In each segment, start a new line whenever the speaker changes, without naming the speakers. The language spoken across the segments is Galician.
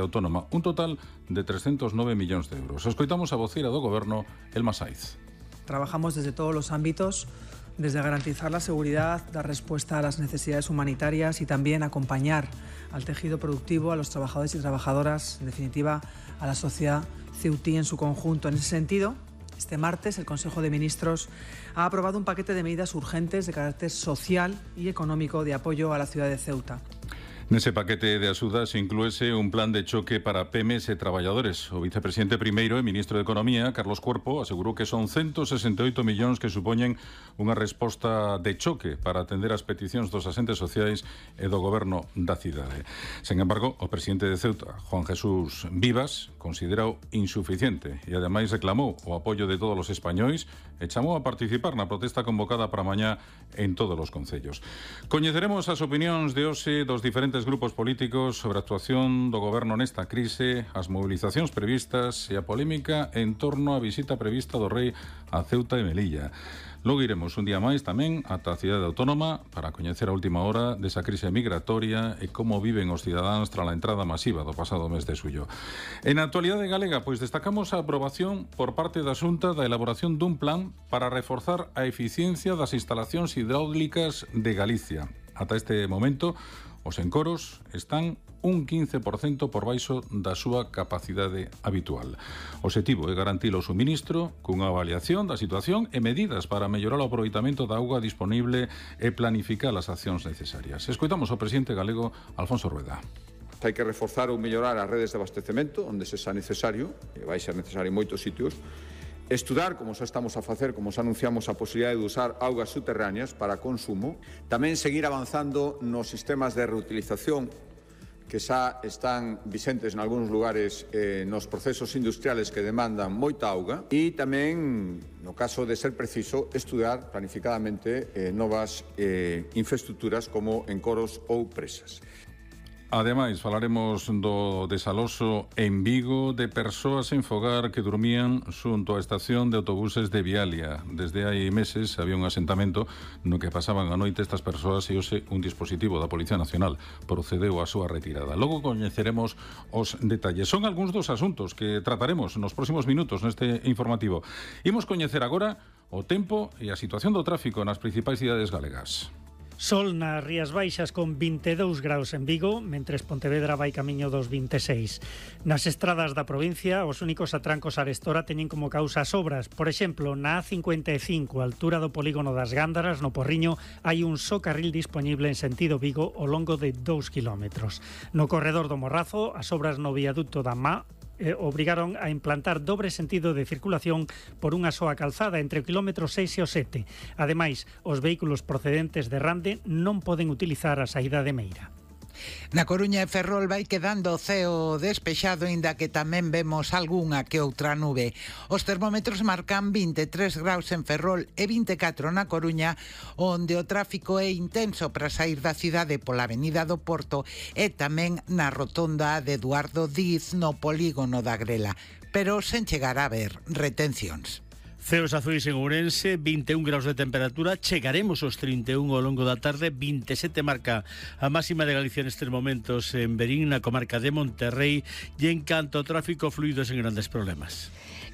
autónoma, un total de 309 millóns de euros. Escoitamos a voceira do Goberno, Elma Saiz.
Trabajamos desde todos los ámbitos, desde garantizar la seguridad, dar respuesta a las necesidades humanitarias y también acompañar al tejido productivo, a los trabajadores y trabajadoras, en definitiva, a la sociedad ceutí en su conjunto. En ese sentido, este martes el Consejo de Ministros ha aprobado un paquete de medidas urgentes de carácter social y económico de apoyo a la ciudad de Ceuta.
Nese paquete de axudas inclúese un plan de choque para PEMES e traballadores. O vicepresidente primeiro e ministro de Economía, Carlos Cuerpo, asegurou que son 168 millóns que supoñen unha resposta de choque para atender as peticións dos asentes sociais e do goberno da cidade. Sen embargo, o presidente de Ceuta, Juan Jesús Vivas, considerou insuficiente e ademais reclamou o apoio de todos os españois e chamou a participar na protesta convocada para mañá en todos os concellos. Coñeceremos as opinións de hoxe dos diferentes grupos políticos sobre a actuación do goberno nesta crise, as movilizacións previstas e a polémica en torno á visita prevista do rei a Ceuta e Melilla. Logo iremos un día máis tamén ata a cidade autónoma para coñecer a última hora desa crise migratoria e como viven os cidadáns tras a entrada masiva do pasado mes de xullo. En a actualidade galega, pois destacamos a aprobación por parte da Xunta da elaboración dun plan para reforzar a eficiencia das instalacións hidráulicas de Galicia. Ata este momento, os encoros están un 15% por baixo da súa capacidade habitual. O obxectivo é garantir o suministro cunha avaliación da situación e medidas para mellorar o aproveitamento da auga disponible e planificar as accións necesarias. Escoitamos o presidente galego, Alfonso Rueda.
Hai que reforzar ou mellorar as redes de abastecemento onde se xa necesario, e vai ser necesario en moitos sitios. Estudar, como xa estamos a facer, como xa anunciamos, a posibilidade de usar augas subterráneas para consumo. Tamén seguir avanzando nos sistemas de reutilización que xa están vixentes en algúns lugares nos procesos industriales que demandan moita auga. E tamén, no caso de ser preciso, estudar planificadamente novas infraestructuras como encoros ou presas.
Ademais, falaremos do desaloso en Vigo de persoas en fogar que dormían xunto á estación de autobuses de Vialia. Desde hai meses había un asentamento no que pasaban a noite estas persoas e hoxe un dispositivo da Policía Nacional procedeu á súa retirada. Logo coñeceremos os detalles. Son algúns dos asuntos que trataremos nos próximos minutos neste informativo. Imos coñecer agora o tempo e a situación do tráfico nas principais cidades galegas.
Sol nas Rías Baixas con 22 graus en Vigo, mentres Pontevedra vai camiño dos 26. Nas estradas da provincia, os únicos atrancos a arestora teñen como causa as obras. Por exemplo, na A55, a altura do polígono das Gándaras, no Porriño, hai un só carril disponible en sentido Vigo ao longo de 2 kilómetros. No corredor do Morrazo, as obras no viaducto da Má obrigaron a implantar dobre sentido de circulación por unha soa calzada entre o kilómetro 6 e o 7. Ademais, os vehículos procedentes de Rande non poden utilizar a saída de Meira.
Na Coruña e Ferrol vai quedando o ceo despexado, inda que tamén vemos algunha que outra nube. Os termómetros marcan 23 graus en Ferrol e 24 na Coruña, onde o tráfico é intenso para sair da cidade pola avenida do Porto e tamén na rotonda de Eduardo Diz no polígono da Grela, pero sen chegar a haber retencións.
Ceos azuis en Ourense, 21 graus de temperatura, chegaremos aos 31 ao longo da tarde, 27 marca a máxima de Galicia nestes momentos en Verín, na comarca de Monterrey, e en canto ao tráfico fluido sen grandes problemas.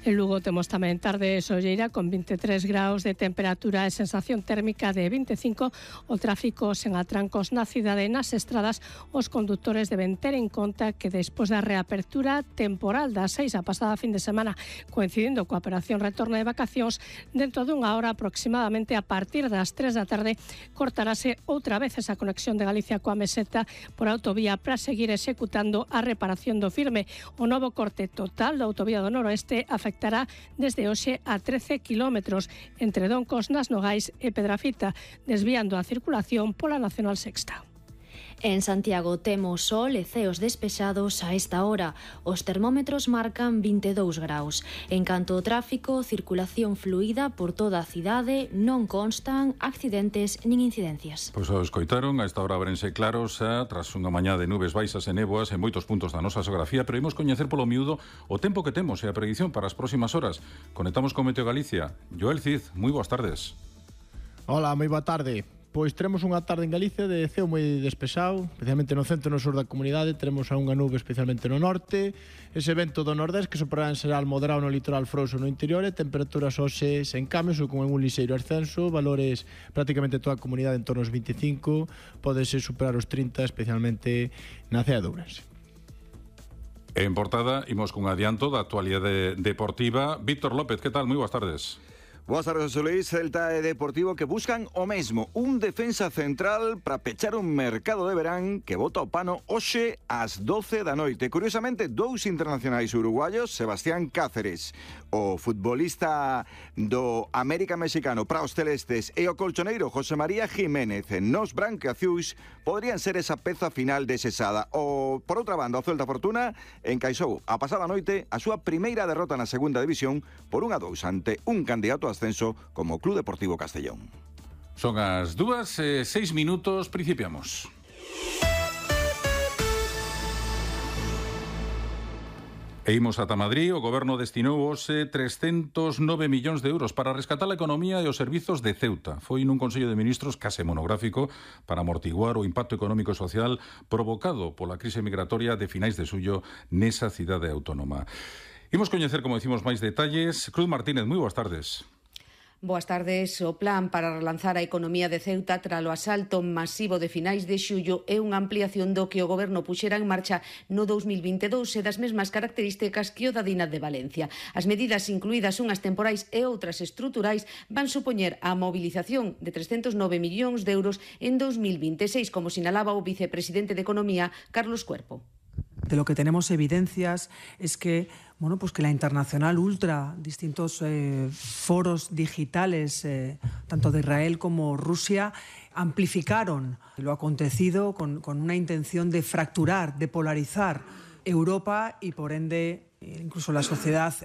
En Lugo temos tamén tarde solleira con 23 graus de temperatura e sensación térmica de 25. O tráfico sen atrancos na cidade e nas estradas. Os condutores deben ter en conta que despois da reapertura temporal das 6 a pasada fin de semana, coincidindo coa operación retorno de vacacións, dentro dunha hora aproximadamente a partir das 3 da tarde cortarase outra vez esa conexión de Galicia coa Meseta por autovía para seguir executando a reparación do firme. O novo corte total da autovía do noroeste afectará desde hoxe a 13 kilómetros entre Doncos, Nas Nogais e Pedrafita, desviando a circulación pola Nacional Sexta.
En Santiago temos sol e ceos despexados a esta hora. Os termómetros marcan 22 graus. En canto ao tráfico, circulación fluida por toda a cidade, non constan accidentes nin incidencias.
Pois o escoitaron, a esta hora abrense claros tras unha mañá de nubes baixas e néboas en moitos puntos da nosa xeografía, pero imos coñecer polo miúdo o tempo que temos e a predición para as próximas horas. Conectamos con Meteo Galicia. Joel Cid, moi boas tardes.
Hola, moi boa tarde. Pois teremos unha tarde en Galicia de ceo moi despexado, especialmente no centro e no sur da comunidade. Teremos a unha nube especialmente no norte, ese vento do nordés que soprará en xeral moderado no litoral frouxo no interior, e temperaturas hoxe sen cambios ou con un lixeiro ascenso, valores prácticamente toda a comunidade en torno aos 25, podese superar os 30, especialmente na cea de Ourense.
En portada, imos cun adianto da actualidade deportiva. Víctor López, que tal? Moi boas tardes.
Boas tardes, José Luis. Celta e Deportivo que buscan o mesmo, un defensa central para pechar un mercado de verán que bota o pano hoxe ás 12 da noite. Curiosamente, dous internacionais uruguayos, Sebastián Cáceres, o futbolista do América Mexicano para os celestes, e o colchoneiro José María Jiménez nos branquiazuis, podrían ser esa peza final desexada. O, por outra banda, o Celta Fortuna encaixou a pasada noite a súa primeira derrota na segunda división por 1-2 ante un candidato a ascenso como Club Deportivo Castellón.
Son as 2:06, principiamos. E imos ata Madrid. O Goberno destinou hoxe 309 millóns de euros para rescatar a economía e os servizos de Ceuta. Foi nun Consello de Ministros case monográfico para amortiguar o impacto económico e social provocado pola crise migratoria de finais de xullo nesa cidade autónoma. Imos coñecer, como decimos, máis detalles. Cruz Martínez, moi boas tardes.
Boas tardes. O plan para relanzar a economía de Ceuta tralo asalto masivo de finais de xullo é unha ampliación do que o Goberno puxera en marcha no 2022 e das mesmas características que o da Dina de Valencia. As medidas, incluídas unhas temporais e outras estruturais, van supoñer a mobilización de 309 millóns de euros en 2026, como sinalaba o vicepresidente de Economía, Carlos Cuerpo.
De lo que tenemos evidencias es que, que la internacional ultra, distintos foros digitales, tanto de Israel como Rusia, amplificaron lo acontecido con una intención de fracturar, de polarizar Europa y, por ende, incluso la sociedad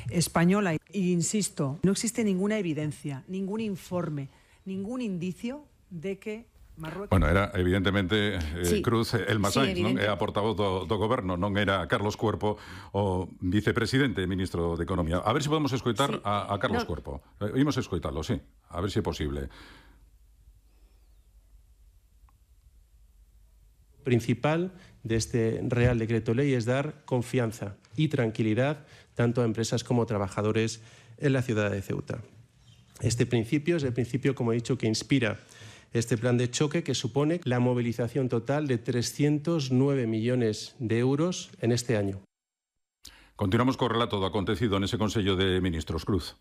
española. Y insisto, no existe ninguna evidencia, ningún informe, ningún indicio de que Marruecos...
Bueno, era evidentemente
sí.
Cruz Elma Sainz,
sí,
non? É a portavoz do Goberno, non era Carlos Cuerpo, o vicepresidente e ministro de Economía. A ver se podemos escoitar sí. a Carlos Cuerpo. Imos escoitalo, sí. A ver se é posible.
Principal de este Real Decreto Ley es dar confianza y tranquilidad tanto a empresas como a trabajadores en la ciudad de Ceuta. Este principio es el principio, como he dicho, que inspira este plan de choque, que supone la movilización total de 309 millones de euros en este año.
Continuamos co relato do acontecido nese Consello de Ministros. Cruz.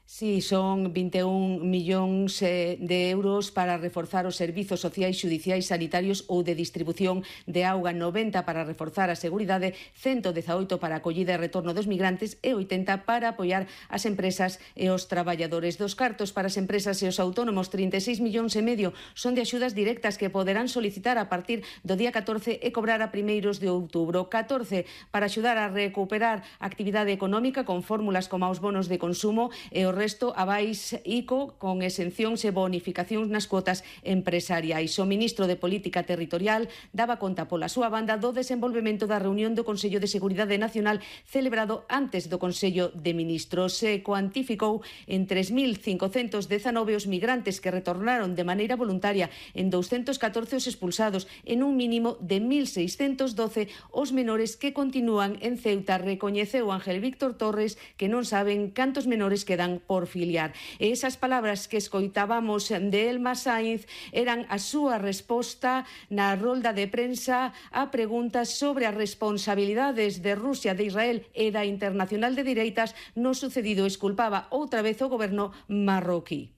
Sí, son 21 millóns de euros para reforzar os servizos sociais, xudiciais, sanitarios ou de distribución de auga, 90 para reforzar a seguridade, 118 para a acollida e retorno dos migrantes e 80 para apoiar as empresas e os traballadores. Dos cartos para as empresas e os autónomos, 36 millóns e medio, son de axudas directas que poderán solicitar a partir do día 14 e cobrar a primeiros de outubro. 14 para axudar a recuperar a actividade económica con fórmulas como os bonos de consumo e o resto abais ICO con exencións e bonificacións nas cuotas empresariais. O ministro de Política Territorial daba conta pola súa banda do desenvolvemento da reunión do Consello de Seguridade Nacional celebrado antes do Consello de Ministros. Se cuantificou en 3.519 os migrantes que retornaron de maneira voluntaria, en 214 os expulsados, en un mínimo de 1.612 os menores que continúan en Ceuta. Recoñeceu Ángel Víctor Torres que non saben cantos menores quedan por filiar. E esas palabras que escoitábamos de Elma Sainz eran a súa resposta na rolda de prensa a preguntas sobre as responsabilidades de Rusia, de Israel e da Internacional de Dereitas no sucedido. Esculpaba outra vez o goberno marroquí.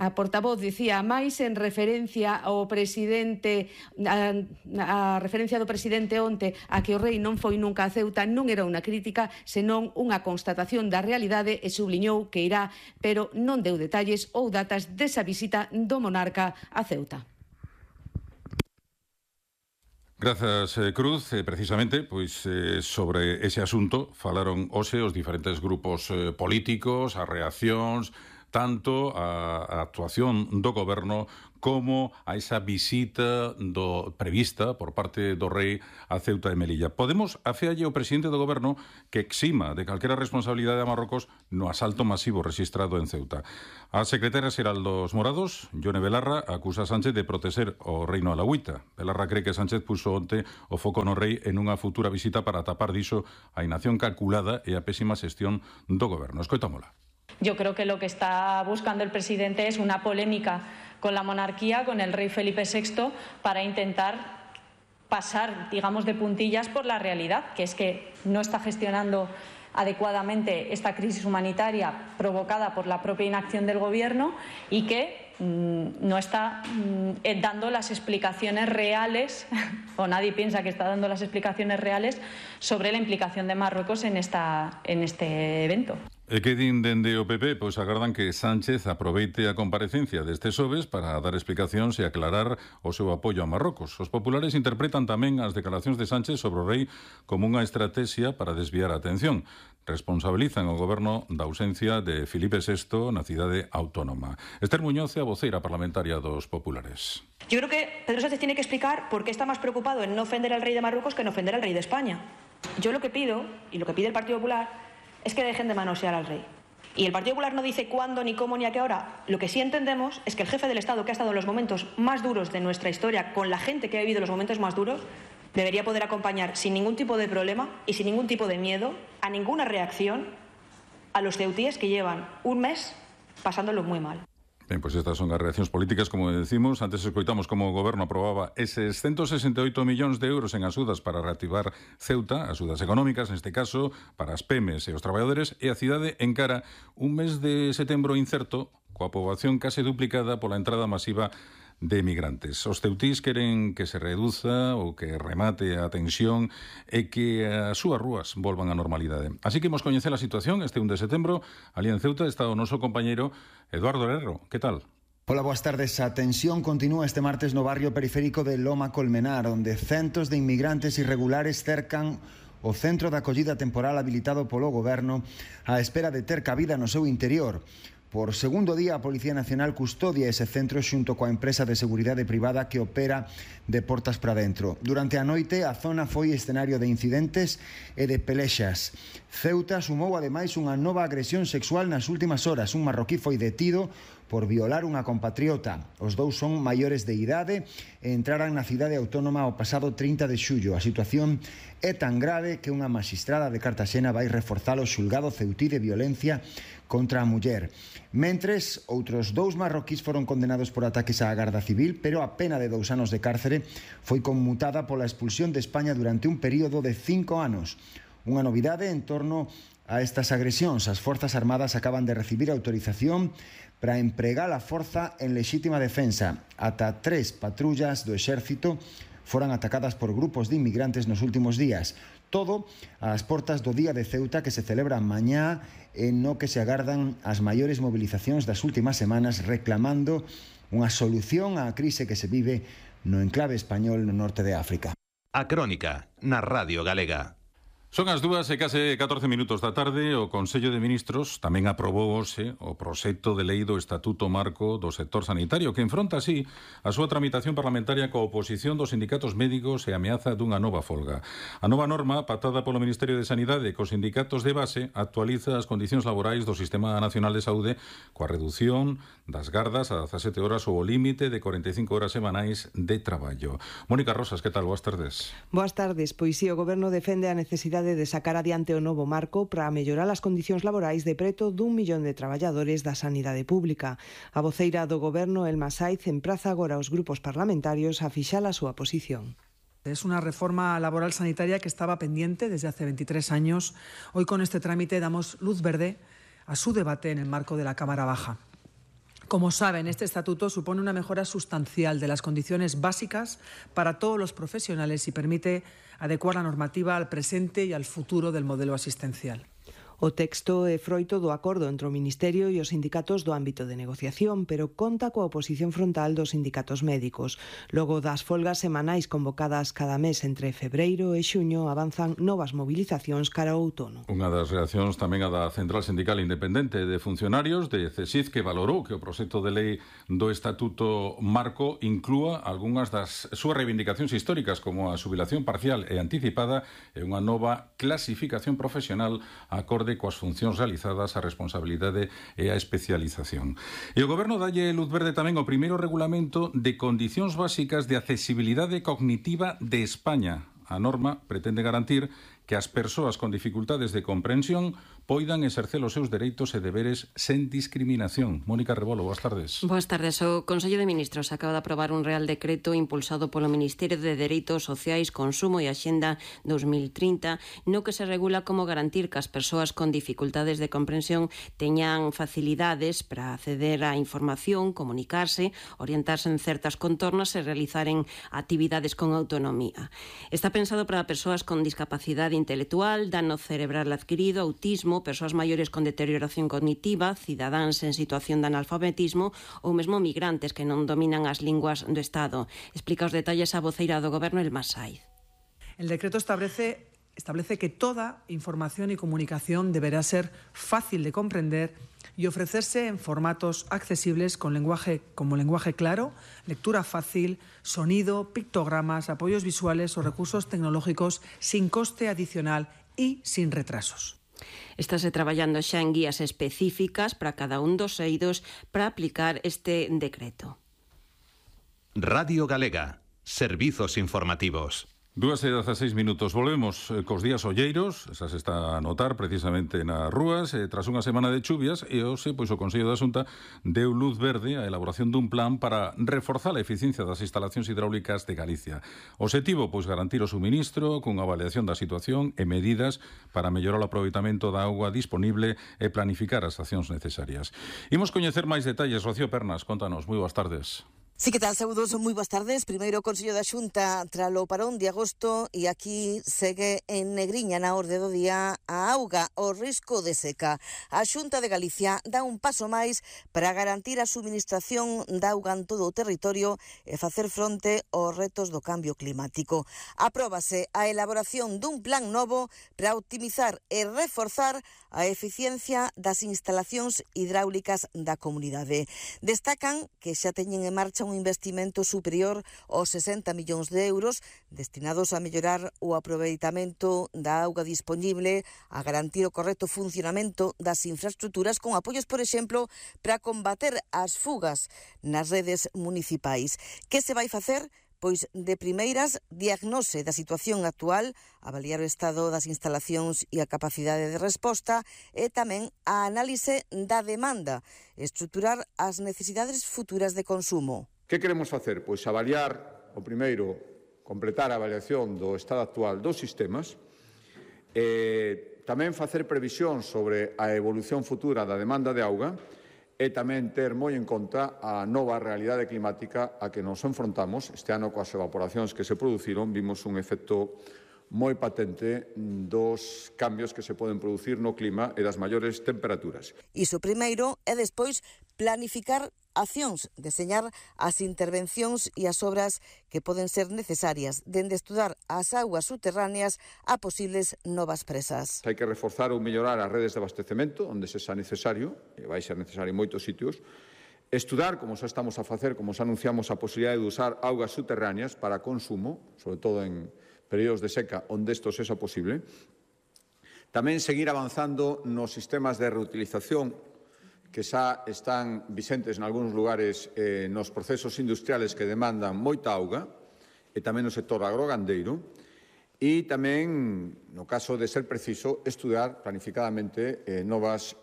A portavoz dicía máis en referencia ao presidente, a referencia do presidente onte a que o rei non foi nunca a Ceuta non era unha crítica, senón unha constatación da realidade, e subliñou que irá, pero non deu detalles ou datas desa visita do monarca a Ceuta.
Grazas, Cruz. Precisamente, sobre ese asunto falaron hoxe os diferentes grupos políticos, as reaccións, tanto a actuación do Goberno como a esa visita prevista por parte do Rei a Ceuta e Melilla. Podemos afealle ao presidente do Goberno que exima de calquera responsabilidade a Marrocos no asalto masivo registrado en Ceuta. A secretaria xeral dos Morados, Yone Belarra, acusa a Sánchez de protexer o reino alauita. Belarra cree que Sánchez puso onte o foco no Rei en unha futura visita para tapar diso a inacción calculada e a pésima xestión do Goberno. Escoitámola.
Yo creo que lo que está buscando el presidente es una polémica con la monarquía, con el rey Felipe VI, para intentar pasar, digamos, de puntillas por la realidad, que es que no está gestionando adecuadamente esta crisis humanitaria provocada por la propia inacción del Gobierno y que no está dando las explicaciones reales, o nadie piensa que está dando las explicaciones reales sobre la implicación de Marruecos en este evento.
E que din dende o PP? Pois agardan que Sánchez aproveite a comparecencia deste xoves para dar explicacións e aclarar o seu apoio a Marrocos. Os populares interpretan tamén as declaracións de Sánchez sobre o Rei como unha estrategia para desviar a atención. Responsabilizan o Goberno da ausencia de Felipe VI na cidade autónoma. Esther Muñoz é a voceira parlamentaria dos populares.
Yo creo que Pedro Sánchez tiene que explicar por qué está más preocupado en no ofender al rey de Marruecos que en ofender al rey de España. Yo lo que pido, y lo que pide el Partido Popular, es que dejen de manosear al rey. Y el Partido Popular no dice cuándo, ni cómo, ni a qué hora. Lo que sí entendemos es que el jefe del Estado, que ha estado en los momentos más duros de nuestra historia, con la gente que ha vivido los momentos más duros, debería poder acompañar sin ningún tipo de problema y sin ningún tipo de miedo a ninguna reacción a los ceutíes que llevan un mes pasándolo muy mal.
Ben, pois estas son as reaccións políticas, como decimos. Antes escoitamos como o Goberno aprobaba eses 168 millóns de euros en axudas para reactivar Ceuta, axudas económicas, neste caso, para as PEMES e os traballadores, e a cidade encara un mes de setembro incerto, coa poboación case duplicada pola entrada masiva de migrantes. Os ceutís queren que se reduza ou que remate a tensión e que as súas rúas volvan á normalidade. Así que imos coñecer a situación este 1 de setembro. Ali en Ceuta está o noso compañeiro Eduardo Herrero. Que tal?
Hola, boas tardes. A tensión continúa este martes no barrio periférico de Loma Colmenar, onde centos de inmigrantes irregulares cercan o centro de acollida temporal habilitado polo Goberno á espera de ter cabida no seu interior. Por segundo día, a Policía Nacional custodia ese centro xunto coa empresa de seguridade privada que opera de portas para dentro. Durante a noite, a zona foi escenario de incidentes e de pelexas. Ceuta sumou ademais unha nova agresión sexual nas últimas horas. Un marroquí foi detido por violar unha compatriota. Os dous son maiores de idade e entraran na cidade autónoma o pasado 30 de xullo. A situación é tan grave que unha magistrada de Cartaxena vai reforzar o xulgado ceutí de violencia contra a muller. Mentres, outros dous marroquís foron condenados por ataques á Garda Civil, pero a pena de 2 anos de cárcere foi conmutada pola expulsión de España durante un período de 5 anos. Unha novidade en torno a estas agresións. As Forzas Armadas acaban de recibir autorización para empregar a forza en lexítima defensa. Ata 3 patrullas do exército foran atacadas por grupos de inmigrantes nos últimos días. Todo ás portas do Día de Ceuta, que se celebra mañá, en no que se agardan as maiores movilizacións das últimas semanas reclamando unha solución á crise que se vive no enclave español no norte de África.
A Crónica, na Radio Galega.
Son as 2 e case 14 minutos da tarde. O Consello de Ministros tamén aprobou hoxe o proxecto de lei do Estatuto Marco do Sector Sanitario, que enfronta así a súa tramitación parlamentaria coa oposición dos sindicatos médicos e a ameaza dunha nova folga. A nova norma, pactada polo Ministerio de Sanidade cos sindicatos de base, actualiza as condicións laborais do Sistema Nacional de Saúde coa reducción das gardas a 17 horas ou o límite de 45 horas semanais de traballo. Mónica Rosas, que tal? Boas tardes.
Boas tardes. Pois si, o Goberno defende a necesidade de sacar adiante o novo marco para mellorar as condicións laborais de preto d'1 millón de traballadores da sanidade pública. A voceira do Goberno, Elma Saiz, empraza agora aos grupos parlamentarios a fixar a súa posición.
Es una reforma laboral sanitaria que estaba pendiente desde hace 23 años. Hoy con este trámite damos luz verde a su debate en el marco de la Cámara Baja. Como saben, este estatuto supone una mejora sustancial de las condiciones básicas para todos los profesionales y permite adecuar la normativa al presente y al futuro del modelo asistencial.
O texto é froito do acordo entre o Ministerio e os sindicatos do ámbito de negociación, pero conta coa oposición frontal dos sindicatos médicos. Logo das folgas semanais convocadas cada mes entre febreiro e xuño, avanzan novas movilizacións cara ao outono.
Unha das reaccións tamén a da Central Sindical Independente de Funcionarios de CESID, que valorou que o proxecto de lei do Estatuto Marco inclúa algunhas das súas reivindicacións históricas, como a xubilación parcial e anticipada e unha nova clasificación profesional acorde coas funcións realizadas, a responsabilidade e a especialización. E o Goberno dalle luz verde tamén ao primeiro regulamento de condicións básicas de accesibilidade cognitiva de España. A norma pretende garantir que as persoas con dificultades de comprensión poidan exercer os seus dereitos e deberes sen discriminación. Mónica Rebolo, boas tardes.
Boas tardes. O Consello de Ministros acaba de aprobar un Real Decreto impulsado polo Ministerio de Dereitos Sociais, Consumo e Axenda 2030, no que se regula como garantir que as persoas con dificultades de comprensión teñan facilidades para acceder á información, comunicarse, orientarse en certas contornas e realizaren actividades con autonomía. Está pensado para persoas con discapacidade intelectual, dano cerebral adquirido, autismo, persoas maiores con deterioración cognitiva, cidadáns en situación de analfabetismo ou mesmo migrantes que non dominan as linguas do Estado. Explica os detalles a voceira do Goberno, Elma Saiz.
El decreto establece que toda información y comunicación deberá ser fácil de comprender y ofrecerse en formatos accesibles como lenguaje claro, lectura fácil, sonido, pictogramas, apoyos visuales o recursos tecnológicos sin coste adicional y sin retrasos.
Estáse traballando xa en guías específicas para cada un dos eidos para aplicar este decreto.
Radio Galega, servizos informativos.
2:16 minutos. Volvemos cos días olleiros, esa se está a notar precisamente nas rúas, tras unha semana de chuvias, e hoxe, pois, o Consello da Xunta deu luz verde á elaboración dun plan para reforzar a eficiencia das instalacións hidráulicas de Galicia. O obxectivo, pois, garantir o suministro cunha avaliación da situación e medidas para mellorar o aproveitamento da auga disponible e planificar as accións necesarias. Imos coñecer máis detalles. Rocío Pernas, contanos. Moi boas tardes.
Sí, que tal, saúdos, moi boas tardes. Primeiro o Consello da Xunta tralo parón de agosto e aquí segue en negriña na orde do día a auga, o risco de seca. A Xunta de Galicia dá un paso máis para garantir a suministración de auga en todo o territorio e facer fronte aos retos do cambio climático. Apróbase a elaboración dun plan novo para optimizar e reforzar a eficiencia das instalacións hidráulicas da comunidade. Destacan que xa teñen en marcha un investimento superior aos 60 millóns de euros destinados a mellorar o aproveitamento da auga disponible, a garantir o correcto funcionamento das infraestructuras con apoios, por exemplo, para combater as fugas nas redes municipais. Que se vai facer? Pois, de primeiras, diagnose da situación actual, avaliar o estado das instalacións e a capacidade de resposta e tamén a análise da demanda, estruturar as necesidades futuras de consumo.
Que queremos facer? Pois avaliar, o primeiro, completar a avaliación do estado actual dos sistemas, tamén facer previsión sobre a evolución futura da demanda de auga, e tamén ter moi en conta a nova realidade climática a que nos enfrontamos. Este ano, coas evaporacións que se produciron, vimos un efecto moi patente dos cambios que se poden producir no clima e das maiores temperaturas.
Iso primeiro e despois planificar accións, deseñar as intervencións e as obras que poden ser necesarias, dende estudar as augas subterráneas a posibles novas presas.
Hai que reforzar ou mellorar as redes de abastecemento, onde se xa necesario, e vai ser necesario en moitos sitios, estudar, como xa estamos a facer, como xa anunciamos, a posibilidade de usar augas subterráneas para consumo, sobre todo en períodos de seca, onde isto sexa posible. Tamén seguir avanzando nos sistemas de reutilización que xa están vixentes en algúns lugares nos procesos industriales que demandan moita auga, e tamén no sector agrogandeiro, e tamén, no caso de ser preciso, estudar planificadamente novas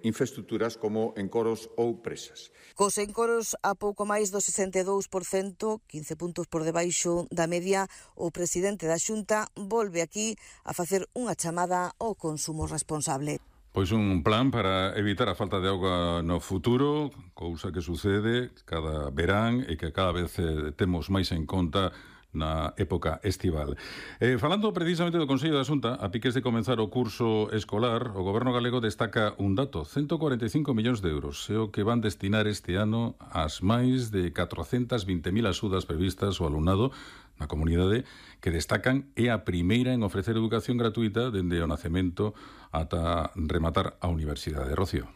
infraestructuras como encoros ou presas.
Cos encoros a pouco máis do 62%, 15 puntos por debaixo da media, o presidente da Xunta volve aquí a facer unha chamada ao consumo responsable.
Pois un plan para evitar a falta de auga no futuro, cousa que sucede cada verán e que cada vez temos máis en conta na época estival. Falando precisamente do Consello da Xunta, a piques de comenzar o curso escolar, o Goberno galego destaca un dato: 145 millóns de euros é o que van destinar este ano ás máis de 420.000 axudas previstas ao alumnado na comunidade, que destacan é a primeira en ofrecer educación gratuita dende o nacemento ata rematar a universidade. Rocío.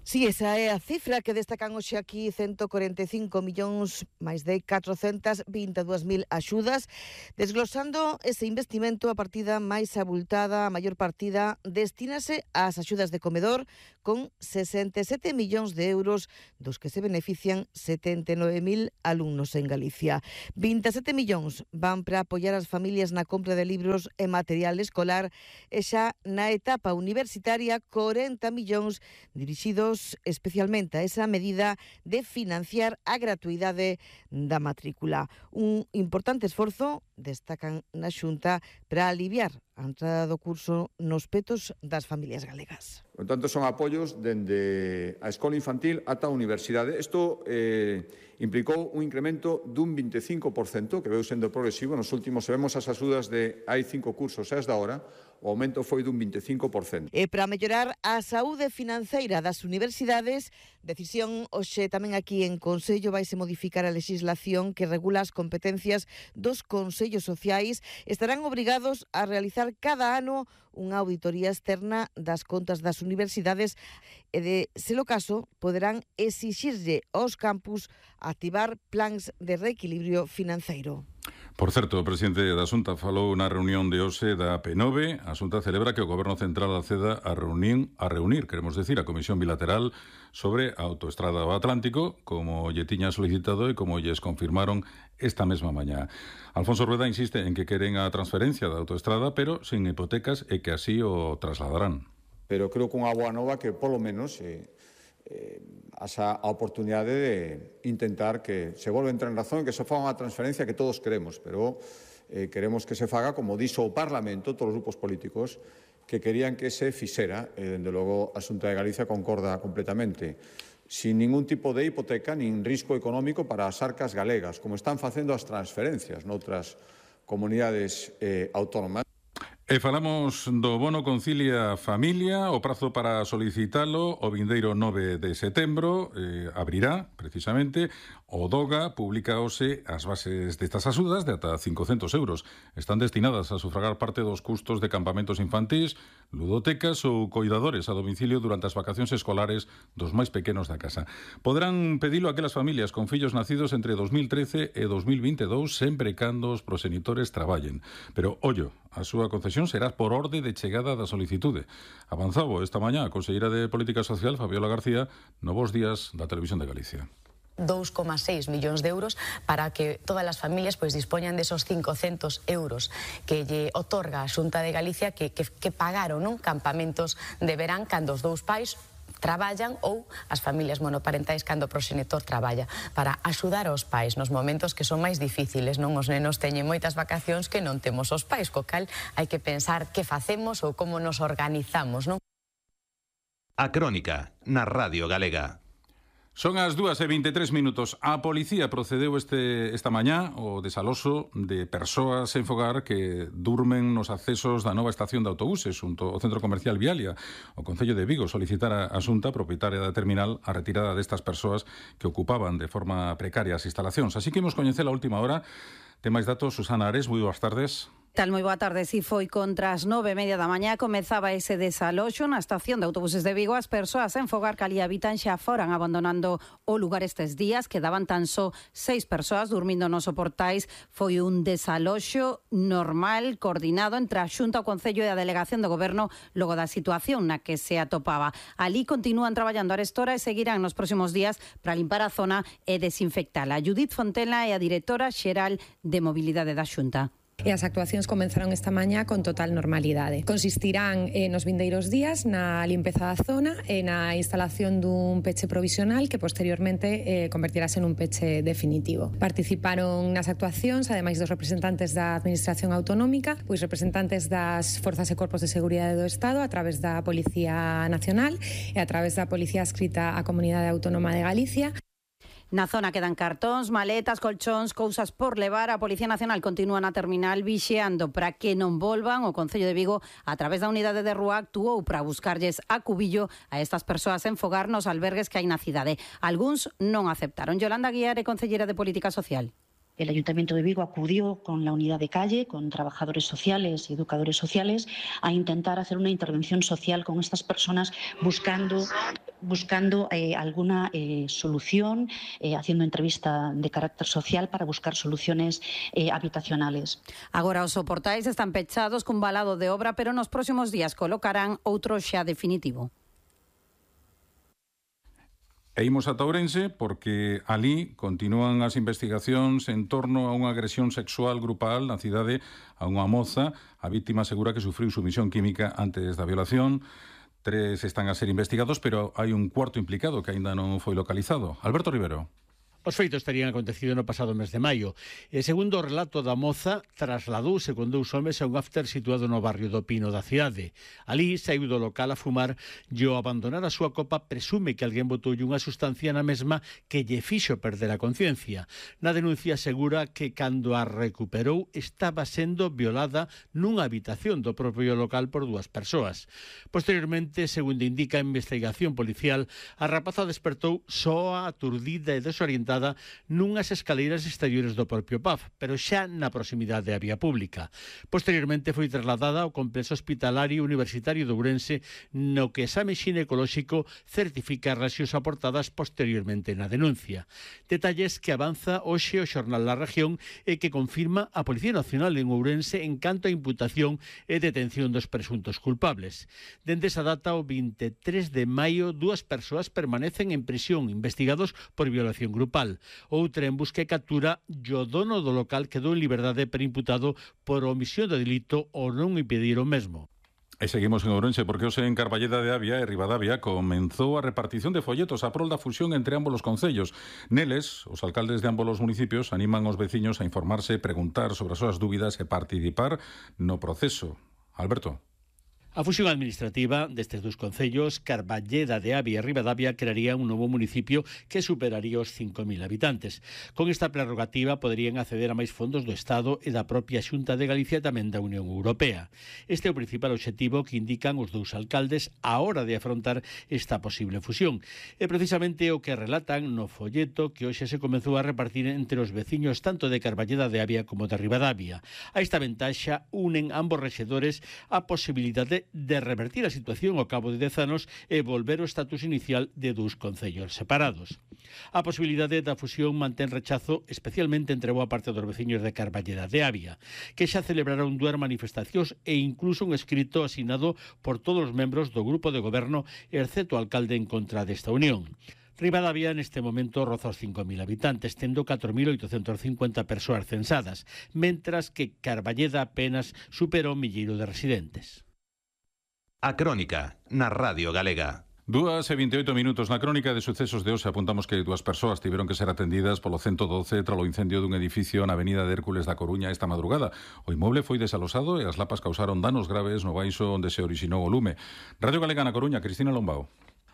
Si, esa é a cifra que destacan hoxe aquí, 145 millóns, máis de 422.000 axudas, desglosando ese investimento. A partida máis abultada, a maior partida, destínase ás axudas de comedor, con 67 millóns de euros, dos que se benefician 79.000 alumnos en Galicia. 27 millóns van para apoiar as familias na compra de libros e material escolar, e xa na etapa universitaria 40 millóns dirixidos especialmente a esa medida de financiar a gratuidade da matrícula. Un importante esforzo, destacan na Xunta, para aliviar a entrada do curso nos petos das familias galegas.
Por tanto, son apoios dende a escola infantil ata a universidade. Isto implicou un incremento dun 25%, que veu sendo progresivo. Nos últimos, se vemos as axudas de hai 5 cursos e as da hora, o aumento foi dun 25%.
E para mellorar a saúde financeira das universidades, decisión hoxe tamén aquí en Consello, vaise modificar a legislación que regula as competencias dos consellos sociais. Estarán obrigados a realizar cada ano unha auditoría externa das contas das universidades e, de ser o caso, poderán exixirlle aos campus activar plans de reequilibrio financeiro.
Por certo, o presidente da Xunta falou na reunión de hoxe da P9. A Xunta celebra que o Goberno Central acceda a reunir, queremos decir, a Comisión Bilateral sobre a autoestrada do Atlántico, como lle tiña solicitado e como lles confirmaron esta mesma mañá. Alfonso Rueda insiste en que queren a transferencia da autoestrada, pero sin hipotecas, e que así o trasladarán.
Pero creo que unha boa nova que, polo menos, a oportunidade de intentar que se volva a entrar en razón e que se faga unha transferencia que todos queremos, pero queremos que se faga como dixo o Parlamento, todos os grupos políticos que querían que se fixera, e dende logo a Xunta de Galicia concorda completamente, sin ningún tipo de hipoteca nin risco económico para as arcas galegas, como están facendo as transferencias noutras comunidades autónomas.
E falamos do bono Concilia Familia. O prazo para solicitalo o vindeiro 9 de setembro abrirá, precisamente. O DOGA publica hoxe as bases destas axudas de ata 500 euros. Están destinadas a sufragar parte dos custos de campamentos infantís, ludotecas ou coidadores a domicilio durante as vacacións escolares dos máis pequenos da casa. Poderán pedilo aquelas familias con fillos nacidos entre 2013 e 2022, sempre cando os proxenitores traballen. Pero, ollo, a súa concesión será por orde de chegada da solicitude. Avanzaba esta mañá a conselleira de Política Social, Fabiola García, no Bos Días da Televisión de Galicia.
2,6 millóns de euros para que todas as familias dispoñan desos 500 euros que lle otorga a Xunta de Galicia que pagaron campamentos de verán cando os dous pais traballan ou as familias monoparentais cando o proxenitor traballa, para axudar aos pais nos momentos que son máis difíciles. Os nenos teñen moitas vacacións que non temos os pais, co cal hai que pensar que facemos ou como nos organizamos.
A Crónica, na Radio Galega.
Son as 2:23 minutos. A policía procedeu esta mañá o desaloxo de persoas sen fogar que durmen nos accesos da nova estación de autobuses xunto ao centro comercial Vialia. O Concello de Vigo solicitara a Xunta, propietaria da terminal, a retirada destas persoas que ocupaban de forma precaria as instalacións. Así que imos coñecer a última hora. Ten máis datos, Susana Ares, moi boas tardes.
Tal, moi boa tarde. Si foi contra as 9:30 da mañá comezaba ese desaloxo na estación de autobuses de Vigo. As persoas en fogar que ali habitan xa foran abandonando o lugar estes días. Quedaban tan só 6 persoas durmindo nos soportais. Foi un desaloxo normal, coordinado entre a Xunta, o Concello e a Delegación do Goberno logo da situación na que se atopaba. Ali continúan traballando a arestora e seguirán nos próximos días para limpar a zona e desinfectala. Judith Fontela é a directora xeral de Mobilidade da Xunta.
E as actuacións comenzaron esta mañá con total normalidade. Consistirán nos vindeiros días na limpeza da zona e na instalación dun peche provisional que posteriormente convertirase nun peche definitivo. Participaron nas actuacións, ademais dos representantes da Administración Autonómica, representantes das Forzas e Corpos de Seguridade do Estado a través da Policía Nacional e a través da Policía adscrita á Comunidade Autónoma de Galicia.
Na zona quedan cartóns, maletas, colchóns, cousas por levar. A Policía Nacional continúa na terminal vixiando para que non volvan. O Concello de Vigo, a través da unidade de rúa, actuou para buscarlles a cubillo a estas persoas en fogar nos albergues que hai na cidade. Algúns non aceptaron. Yolanda Guiar é concelleira de Política Social.
El Ayuntamiento de Vigo acudió con la unidad de calle, con trabajadores sociales y educadores sociales, a intentar hacer una intervención social con estas personas, buscando alguna solución, haciendo entrevista de carácter social para buscar soluciones habitacionales.
Agora os soportais están pechados cun balado de obra, pero nos próximos días colocarán outro xa definitivo.
E imos ata Ourense porque alí continúan as investigacións en torno a unha agresión sexual grupal na cidade a unha moza. A vítima asegura que sufriu sumisión química antes da violación. 3 están a ser investigados, pero hai un cuarto implicado que aínda non foi localizado. Alberto Rivero.
Os feitos terían acontecido no pasado mes de maio. E segundo o relato da moza, trasladouse con 2 homes a un after situado no barrio do Pino da cidade. Alí saiu do local a fumar e ao abandonar a súa copa presume que alguén botoulle unha sustancia na mesma que lle fixo perder a conciencia. Na denuncia asegura que cando a recuperou estaba sendo violada nunha habitación do propio local por 2 persoas. Posteriormente, segundo indica a investigación policial, a rapaza despertou soa, aturdida e desorientada nunhas escaleiras exteriores do propio PAF, pero xa na proximidade da vía pública. Posteriormente foi trasladada ao complexo hospitalario universitario de Ourense, no que exame xinecolóxico certifica as reaccións aportadas posteriormente na denuncia. Detalles que avanza hoxe o xornal La Región e que confirma a Policía Nacional en Ourense en canto a imputación e detención dos presuntos culpables. Dende esa data, o 23 de maio, 2 persoas permanecen en prisión investigados por violación grupal. Outra en busca e captura e o dono do local quedou en liberdade perimputado por omisión de delito ou non impedir o mesmo.
E seguimos en Ourense porque hoxe en Carballeda de Avia e Ribadavia comenzou a repartición de folletos a prol da fusión entre ambos os concellos. Neles, os alcaldes de ambos os municipios animan os veciños a informarse, preguntar sobre as súas dúbidas e participar no proceso. Alberto.
A fusión administrativa destes 2 concellos, Carballeda de Avia e Ribadavia, crearía un novo municipio que superaría os 5.000 habitantes. Con esta prerrogativa poderían acceder a máis fondos do Estado e da propia Xunta de Galicia e tamén da Unión Europea. Este é o principal obxectivo que indican os 2 alcaldes á hora de afrontar esta posible fusión. E precisamente o que relatan no folleto que hoxe se comezou a repartir entre os veciños tanto de Carballeda de Avia como de Ribadavia. A esta ventaxa unen ambos rexedores a posibilidade de revertir a situación ao cabo de 10 anos e volver ao estatus inicial de 2 concellos separados. A posibilidade da fusión mantén rechazo especialmente entre boa parte dos veciños de Carballeda de Avia, que xa celebraron 2 manifestacións e incluso un escrito asinado por todos os membros do grupo de goberno, excepto o alcalde en contra desta unión. Ribadavia neste momento roza os 5.000 habitantes, tendo 4.850 persoas censadas, mentras que Carballeda apenas supera o milleiro de residentes.
A Crónica, na Radio Galega.
2:28 na crónica de sucesos de hoxe apuntamos que 2 persoas tiveron que ser atendidas polo 112 tras o incendio dun edificio na avenida de Hércules da Coruña esta madrugada. O inmoble foi desalosado e as lapas causaron danos graves no baixo onde se orixinou o lume. Radio Galega na Coruña, Cristina Lombao.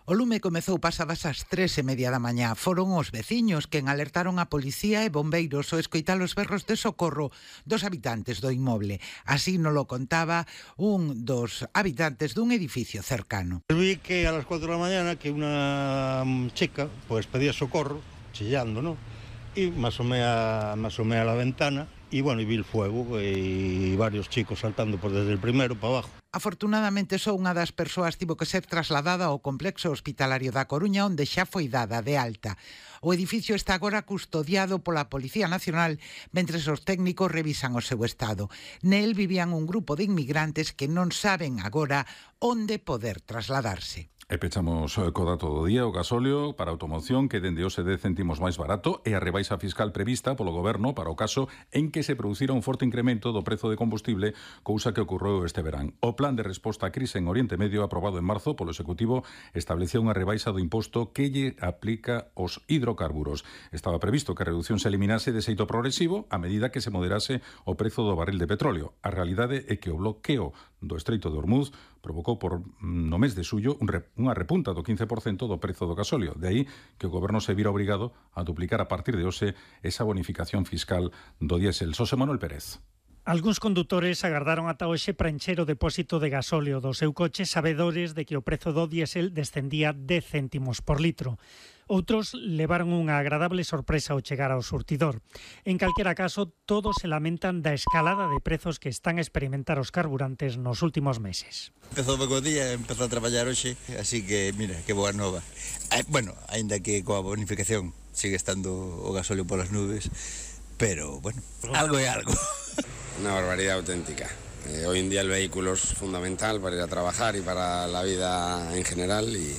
O lume comezou pasadas as 3:30 da mañá. Foron os veciños quen alertaron a policía e bombeiros ao escoitar os berros de socorro dos habitantes do inmoble. Así nos lo contaba un dos habitantes dun edificio cercano.
Vi que a las 4 de la mañana que una chica pues pedía socorro, chillando, ¿no? Y me asomé a la ventana y bueno, y vi el fuego y varios chicos saltando por desde el primero para abajo.
Afortunadamente só unha das persoas tivo que ser trasladada ao complexo hospitalario da Coruña onde xa foi dada de alta. O edificio está agora custodiado pola Policía Nacional mentres os técnicos revisan o seu estado. Nel vivían un grupo de inmigrantes que non saben agora onde poder trasladarse.
E pechamos co dato do día, o gasóleo para automoción que dende hoxe 10 céntimos máis barato e a rebaixa fiscal prevista polo goberno para o caso en que se producira un forte incremento do prezo de combustible, cousa que ocorreu este verán. O plan de resposta á crise en Oriente Medio aprobado en marzo polo Executivo estableceu unha rebaixa do imposto que lle aplica aos hidrocarburos. Estaba previsto que a reducción se eliminase de xeito progresivo a medida que se moderase o prezo do barril de petróleo. A realidade é que o bloqueo do Estreito de Ormuz provocou por no mes de xullo unha repunta do 15% do prezo do gasóleo. De aí que o goberno se vira obrigado a duplicar a partir de hoxe esa bonificación fiscal do diésel. Xosé Manuel Pérez.
Algúns condutores agardaron ata hoxe para encher o depósito de gasóleo do seu coche sabedores de que o prezo do diésel descendía 10 céntimos por litro. Outros levaron unha agradable sorpresa ao chegar ao surtidor. En calquera caso, todos se lamentan da escalada de prezos que están a experimentar os carburantes nos últimos meses.
Empezou ben o día, empezou a traballar hoxe, así que, mira, que boa nova. Bueno, aínda que coa bonificación sigue estando o gasóleo polas nubes, pero, bueno, algo é algo.
Una barbaridad auténtica. Hoy en día el vehículo es fundamental para ir a trabajar y para la vida en general y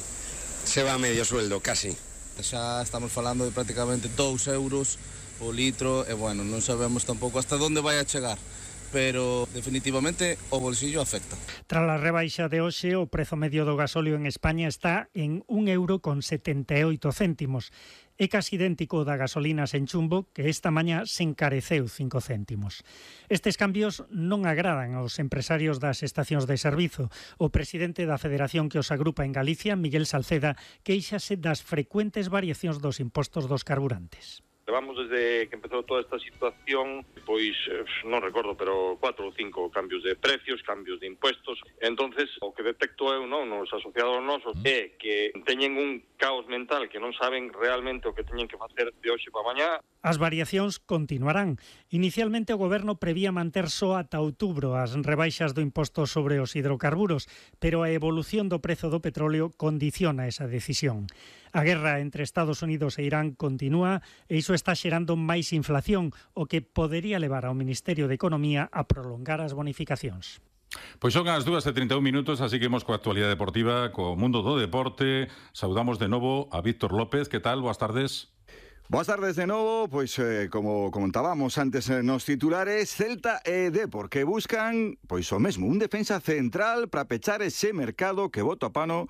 se va a medio sueldo casi.
Xa estamos falando de prácticamente 2 euros o litro e bueno, non sabemos tampouco hasta onde vai a chegar, pero definitivamente o bolsillo afecta.
Tras a rebaixa de hoxe, o prezo medio do gasóleo en España está en 1,78 €. É casi idéntico da gasolina sen chumbo, que esta mañá se encareceu 5 céntimos. Estes cambios non agradan aos empresarios das estacións de servizo. O presidente da Federación que os agrupa en Galicia, Miguel Salceda, queixase das frecuentes variacións dos impostos dos carburantes.
Levamos desde que empezou toda esta situación, pois non recordo, pero 4 ou 5 cambios de precios, cambios de impuestos. Entonces, o que detecto eu, non, nos asociados nosos, é que teñen un caos mental, que non saben realmente o que teñen que facer de hoxe para mañá.
As variacións continuarán. Inicialmente o goberno prevía manter só ata outubro as rebaixas do imposto sobre os hidrocarburos, pero a evolución do prezo do petróleo condiciona esa decisión. A guerra entre Estados Unidos e Irán continúa e iso está xerando máis inflación, o que podería levar ao Ministerio de Economía a prolongar as bonificacións.
Pois son as 2:31, así que imos coa actualidade deportiva, co mundo do deporte. Saudamos de novo a Víctor López. Que tal? Boas tardes.
Boas tardes de novo, pois como comentábamos antes nos titulares, Celta e Depor que buscan pois o mesmo, un defensa central para pechar ese mercado que bota a pano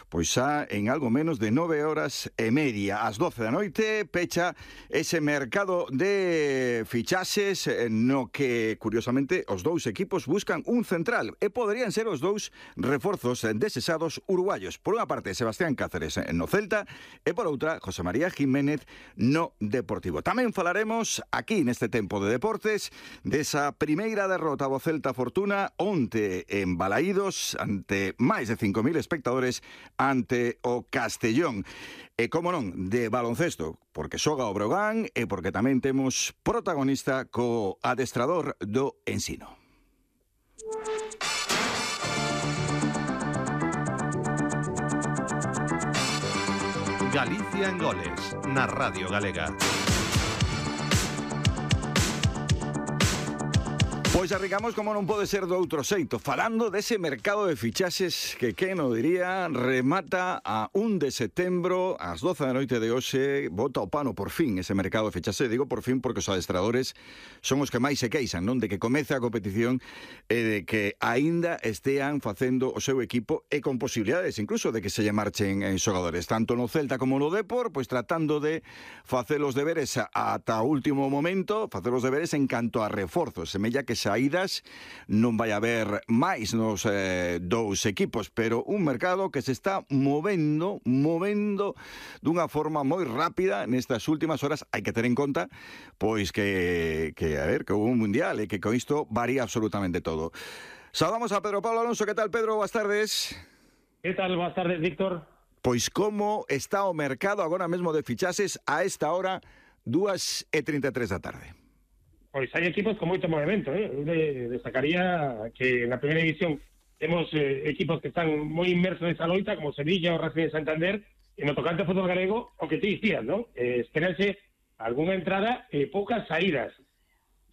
pois xa en algo menos de 9 horas e media. Ás 12 da noite pecha ese mercado de fichaxes no que, curiosamente, os dous equipos buscan un central e poderían ser os dous reforzos desesados uruguayos. Por unha parte, Sebastián Cáceres no Celta e por outra, José María Jiménez no Deportivo. Tamén falaremos aquí neste tempo de deportes desa primeira derrota do Celta Fortuna onte en Balaídos ante máis de 5.000 espectadores ante o Castellón. E como non, de baloncesto, porque xoga o Breogán e porque tamén temos protagonista co adestrador do Ensino.
Galicia en goles, na Radio Galega.
Pois arrancamos como non pode ser do outro xeito, falando dese mercado de fichaxes que, quen o diría, remata a 1 de setembro, ás 12 da noite de hoxe, bota o pano por fin ese mercado de fichaxes. Digo por fin porque os adestradores son os que máis se queixan, non? De que comece a competición e de que aínda estean facendo o seu equipo e con posibilidades incluso de que se lle marchen xogadores, tanto no Celta como no Depor, pois tratando de facer os deberes ata o último momento, facer os deberes en canto a reforzos. Semella que saídas non vai haber máis nos dous equipos, pero un mercado que se está movendo dunha forma moi rápida nestas últimas horas. Hai que ter en conta pois que hubo un mundial e que con isto varía absolutamente todo. Saudamos a Pedro Pablo Alonso. Que tal, Pedro? Boas tardes.
Que tal? Boas tardes, Víctor.
Pois como está o mercado agora mesmo de fichaxes a esta hora, 2:33 da tarde?
Pois hai equipos con moito movimento, Eu destacaría que na primeira división temos equipos que están moi inmersos nesa loita, como Sevilla ou Racing de Santander, e no tocante ao fútbol galego, o que te dicías, non? Esperanse algunha entrada e poucas saídas.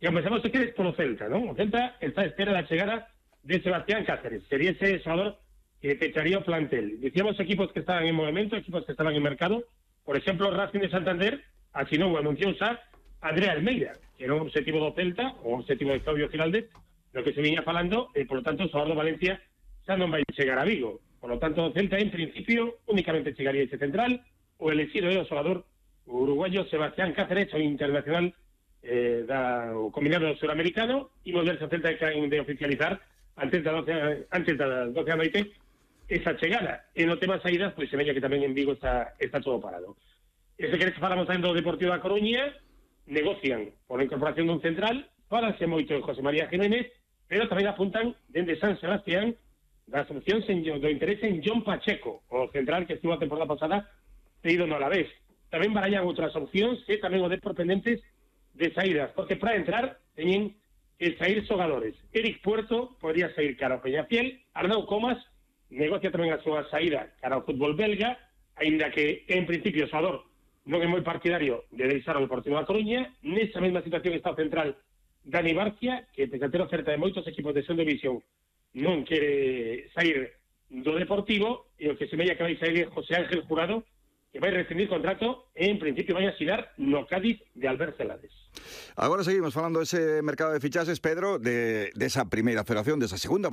E comenzamos, se queres, polo Celta, non? O Celta está a espera da chegada de Sebastián Cáceres. Sería ese xogador que pecharía o plantel. Dicíamos equipos que estaban en movimento, equipos que estaban en mercado. Por exemplo, Racing de Santander asinou, anunciou xa Andrea Almeida, que era un objetivo do Celta, o un objetivo de Claudio Giraldez, no que se viña falando, e, por lo tanto, o xogador do Valencia xa non vai chegar a Vigo. Por lo tanto, o Celta, en principio, únicamente chegaría ese central. O elegido é o xogador uruguayo Sebastián Cáceres, o internacional o combinado suramericano, e volverse o Celta de oficializar antes das 12 da noite esa chegada. E no tema saídas, pois se veña que tamén en Vigo está todo parado. E se queres falamos tamén do Deportivo da Coruña, negocian por a incorporación dun central, fálase moito de José María Jiménez, pero tamén apuntan dende San Sebastián das opcións do interés en John Pacheco, o central que estuvo a temporada pasada cedido no Alavés. Tamén barallan outras opcións e tamén o Depor pendentes de saídas, porque para entrar teñen que sair xogadores. Eric Puerto podría sair cara ao Peñafiel, Arnau Comas negocia tamén a súa saída cara ao fútbol belga, aínda que en principio o xogador non é moi partidario de deixar o Deportivo da Coruña. Nesa mesma situación está o central Dani Barcia, que pese a ter oferta de moitos equipos de segunda división non quere sair do Deportivo, e o que se veía que vai sair é José Ángel Jurado, que vai rescindir contrato e en principio vai asinar no Cádiz de Albert Celades.
Agora seguimos falando dese mercado de fichaxes, Pedro, de esa primeira federación, desa segunda